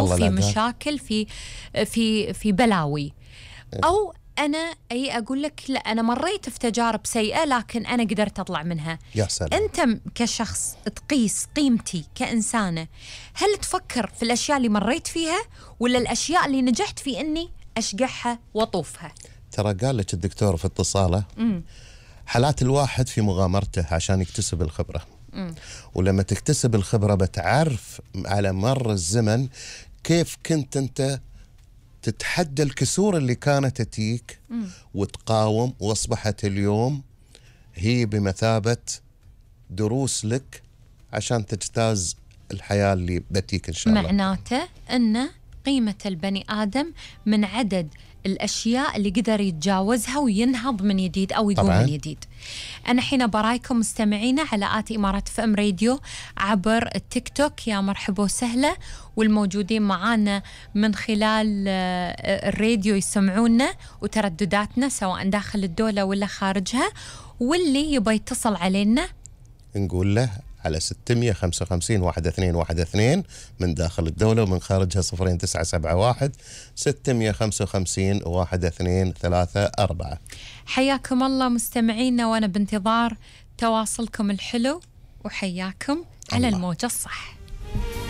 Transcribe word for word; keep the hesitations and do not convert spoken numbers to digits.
ظروف، في مشاكل، في في في بلاوي، أو أنا أي أقول لك لا أنا مريت في تجارب سيئة لكن أنا قدرت أطلع منها. يا سلام. أنت كشخص تقيس قيمتي كإنسانة، هل تفكر في الأشياء اللي مريت فيها ولا الأشياء اللي نجحت في أني أشجعها وأطوفها؟ ترى قال لك الدكتور في اتصاله م. حالات الواحد في مغامرته عشان يكتسب الخبرة م. ولما تكتسب الخبرة بتعرف على مر الزمن كيف كنت أنت تتحدى الكسور اللي كانت تجيك وتقاوم، واصبحت اليوم هي بمثابة دروس لك عشان تجتاز الحياة اللي بتيك إن شاء الله. معناته أن قيمة البني آدم من عدد الأشياء اللي قدر يتجاوزها وينهض من جديد أو يقوم طبعاً. من جديد. أنا حين برايكم مستمعينا على آت إمارات اف ام راديو عبر التيك توك، يا مرحبا وسهلا، والموجودين معانا من خلال الراديو يسمعونا وتردداتنا سواء داخل الدولة ولا خارجها، واللي يبغى يتصل علينا نقول له على ستمية خمسة وخمسين واحد اثنين واحد اثنين من داخل الدولة، ومن خارجها صفرين تسعة سبعة واحد ستمية خمسة وخمسين واحد اثنين ثلاثة أربعة. حياكم الله مستمعينا، وأنا بانتظار تواصلكم الحلو، وحياكم الله على الموجة الصح.